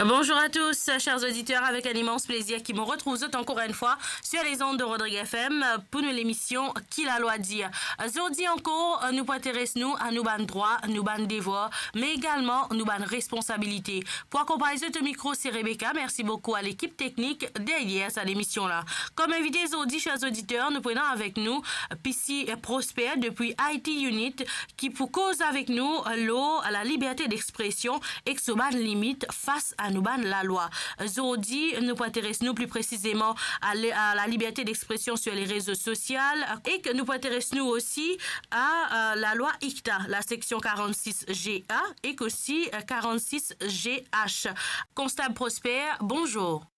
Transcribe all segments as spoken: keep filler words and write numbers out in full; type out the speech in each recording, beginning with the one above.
Bonjour à tous, chers auditeurs, avec un immense plaisir ki mo retrouv zot ankor enn fwa sur les ondes de Rodrigue F M pour nou lemision Ki Lalwa Dir. Zordi ankor, nou pou interes nou a nou bann drwa, nou bann devwar, me egalman nou bann responsabilite. Pou akonpagn zot o mikro, se Rebecca. Mersi boukou a lekip teknik deryer sa lemision la. Kom invite zordi, chers auditeurs, nou pou ena avek nou P C Prosper depi I T Unit, ki pou koz avek nou lor laliberte dexpresion ek so bann limit fas a nou bann lalwa. Zordi, nou pou interes nou pli presizeman a le-, a laliberte dexpresion sur les réseaux sociaux ek nou pou interes nou osi a, a lalwa ICTA, la seksion quarante-six G A ek osi, euh, quarante-six G H. Konstab Prosper, bonzour.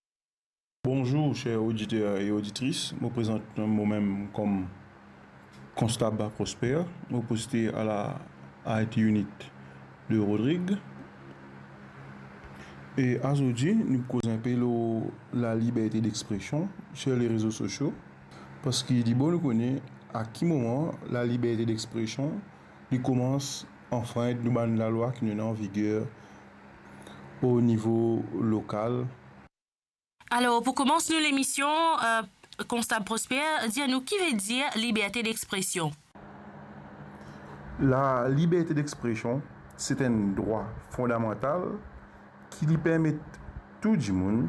Bonzour, cher oditer e oditris. Mo prezant momem kom Konstab Prosper. Mo poste a la I T Unit de Rodrigue. E azordi, nou pou koz inpe lor laliberte dexpresion sur les réseaux sociaux, parski li bon nou kone a ki moman laliberte dexpresion li koumans anfrint nou bann lalwa ki nou ena an viger o nivo lokal. Alor, pou koumans nou lemision, euh, Konstab Prosper, dir nou ki vedir liberte dexpresion? Laliberte dexpresion, se enn drwa fondamantal ki li permet tou dimoun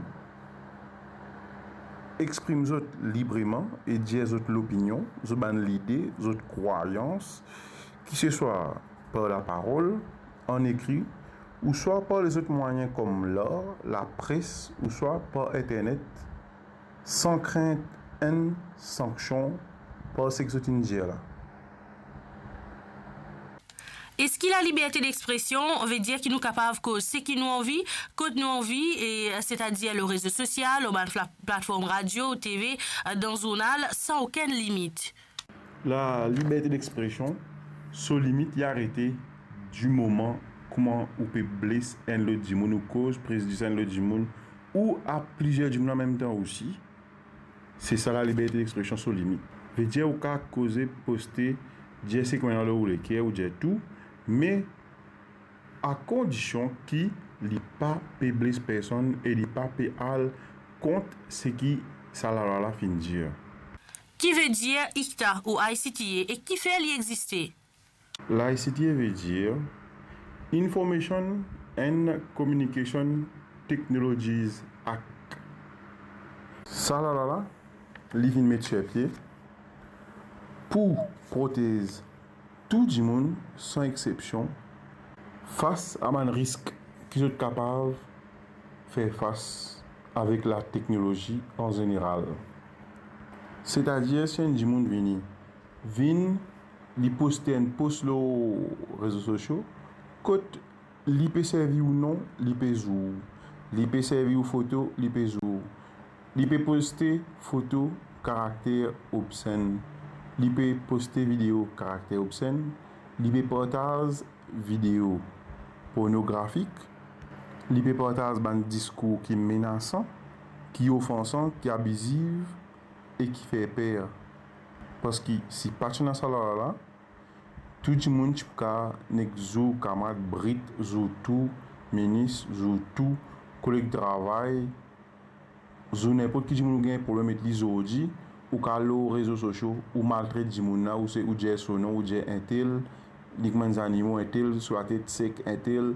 exprim zot libreman e dir zot lopinion, zot bann lide, zot krwayans, ki se swa par laparol, an ekri, ouswa par lezot mwayin kom lar, lapres, ouswa par internet, san krint enn sanksion par seki zot inn dir la. Eski laliberte dexpresion vedir ki nou kapav koz seki nou anvi, kot nou anvi, e, setadir lor rezo sosial, lor bann fla-, platform radio, T V, dan zournal, san okenn limit? Laliberte dexpresion, so limit li arete di moman kouma ou pe bles enn lot dimoun, ou koz prejidis enn lot dimoun, ou a plizier dimoun anmemtan osi. Se sa laliberte dexpresion so limit. Vedir ou kav koze, poste, dir seki ena lor ou leker, ou dir tou, me a kondision ki li pa pe bles personn e li pa pe al kont seki sa lalwa la finn dir. Ki vedir ICTA ou I C T A e kifer li existe? La I C T A vedir Information and Communication Technologies Act. Sa lalwa la, li finn met sir pie pou protez tou dimoun, san exsepsion, fas a bann risk ki zot kapav fer fas avek lateknolozi an zeneral. Setadir, si enn dimoun vini, vinn, li poste enn post lor rezo sosio, kot li pe servi ou non, li pe zour. Li pe servi ou foto, li pe zour. Li pe poste foto karakter obsenn. Li pe poste video karakter obsenn. Li pe partaz video pornografik. Li pe partaz bann diskour ki menasan, ki ofansan, ki abiziv e ki fer per. Parski si pa ti ena sa lalwa la, tou dimoun ti pou kav nek zour kamarad brit, zour tou minis, zour tou koleg travay, zour ninport ki dimoun ou gagn problem ek li zordi, ou kav al lor rezo sosio, ou maltret dimoun la, ou se, ou dir so non, ou dir entel, li kouma enn zanimo, entel so latet sek, entel